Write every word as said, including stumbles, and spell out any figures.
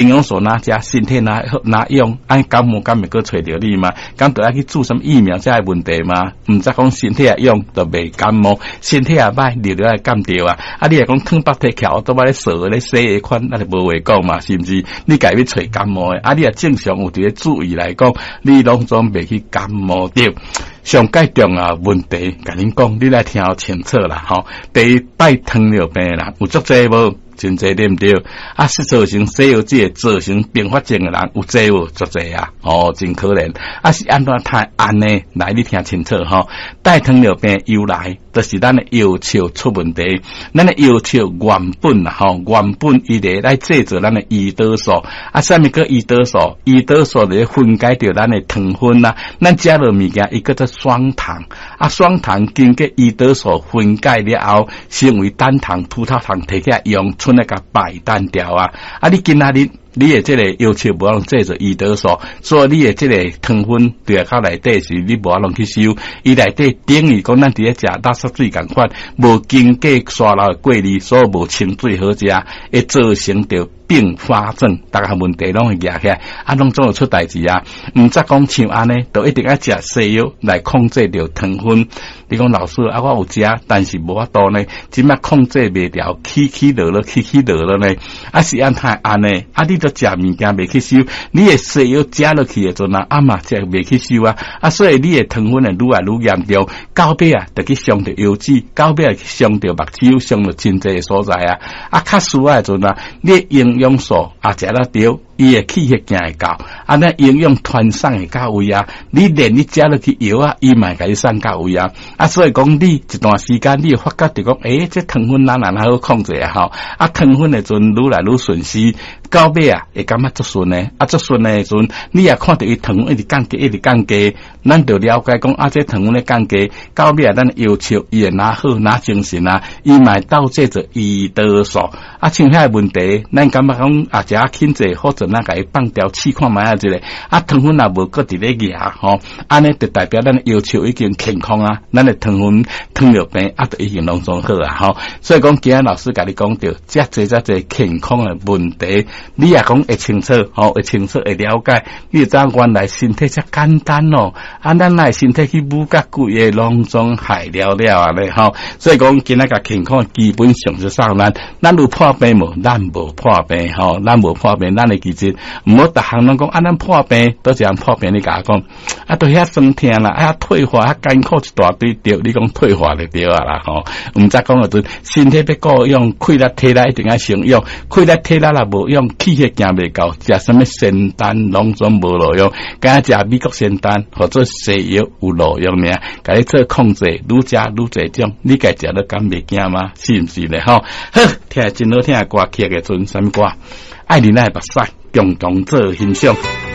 營養素若食，身體若若用，按感冒敢會閣揣著你嗎？敢著愛去注啥物疫苗才會問題嗎？毋則講身體若用就袂感冒，身體若歹，你就愛感著啊！啊，你若講搪腹提翹，都捌咧趖咧洗的款，那就無話講嘛，是毋是？你家欲揣感冒的，啊，你若正常有佇咧注意來講，你攏總袂去感冒著。上蓋重要問題，共恁講，你來聽清楚啦，吼。第一擺糖尿病啦，有足濟無？真濟對毋對？啊，是造成西藥劑造成併發症的人有濟無？足濟啊！哦，真可憐。啊，是按怎太按呢？來，你聽清楚吼。代糖尿病由來，就是咱的藥笑出問題。咱的藥笑原本啊，吼，原本伊咧來製造咱的胰島素。啊，啥物叫胰島素？胰島素咧分解著咱的糖分啊。咱食落物件，伊叫做雙糖。啊，雙糖經過胰島素分解了後，成為單糖、葡萄糖，提起來用，賰來共排單掉啊！啊，你今仔日你的這個藥笑無法度製造胰島素，所以你的這個糖分佇較內底是你無法度去收，伊內底等於講咱佇咧食垃圾水仝款，無經過沙漏的過濾，所以無清水好食，會造成著併發症，逐項問題攏會惹起來，啊，攏總會出代誌啊！毋則講像按呢，就一定愛食西藥來控制著糖分。你講老師啊，我有食，但是無法度呢，這擺控制袂牢，起起落落，起起落落呢，啊是按怎按呢？啊，你都食物件袂吸收，你的西藥食落去的陣啊，啊嘛食袂吸收啊，啊所以你的糖分會愈來愈嚴重，到尾啊，就去傷著腰子，到尾啊去傷著目睭，傷著真濟所在啊！啊，較輸的陣啊，你的營養素啊食了著，伊的氣血行會到，啊，咱營養傳送會到位啊。你連你食落去藥啊，伊嘛會共你送到位啊。啊，所以講你一段時間，你會發覺著講，欸，這糖分哪哪好控制啊？吼，啊，糖分的陣愈來愈順時，到尾啊會感覺足順的，啊，足順的時陣，你也看著伊糖分一直降低，一直降低，咱就了解講，啊，這糖分咧降低，到尾啊，咱藥笑伊會若好若精神啊，伊嘛會鬥製造胰島素。啊，像遐個問題，咱感覺講啊，食輕濟或者咱共伊放掉試看覓仔一下，啊，糖分若無閣佇咧壓吼，按呢就代表咱藥笑已經健康啊，咱的糖分糖尿病啊，就已經攏總好啊吼。所以講，今仔老師共你講著，遮濟遮濟健康的問題，你若講會清楚，吼，會清楚會了解，你就知影原來身體遮簡單哦。啊，咱來身體去舞甲規个攏總害了了啊咧吼。所以講，今仔共健康基本常識送咱，咱有破病無？咱無破病吼，咱無破病，咱會記得，毋好逐項攏講啊，咱破病，佗一項破病你共我講，啊，都遐酸痛啦，啊，退化，遐艱苦一大堆，對，你講退化就對啊啦吼。毋則講個陣，身體欲顧養，氣力體力一定愛先用，氣力體力若無用，氣血行袂到，食啥物仙丹攏總無路用，敢若食美國仙丹或者西藥有路用爾，共你做控制，愈食愈濟種，你家食了敢袂驚嗎？是毋是咧？吼，好，聽真好聽的歌曲的陣，啥物歌？愛你的目屎，共同做欣賞。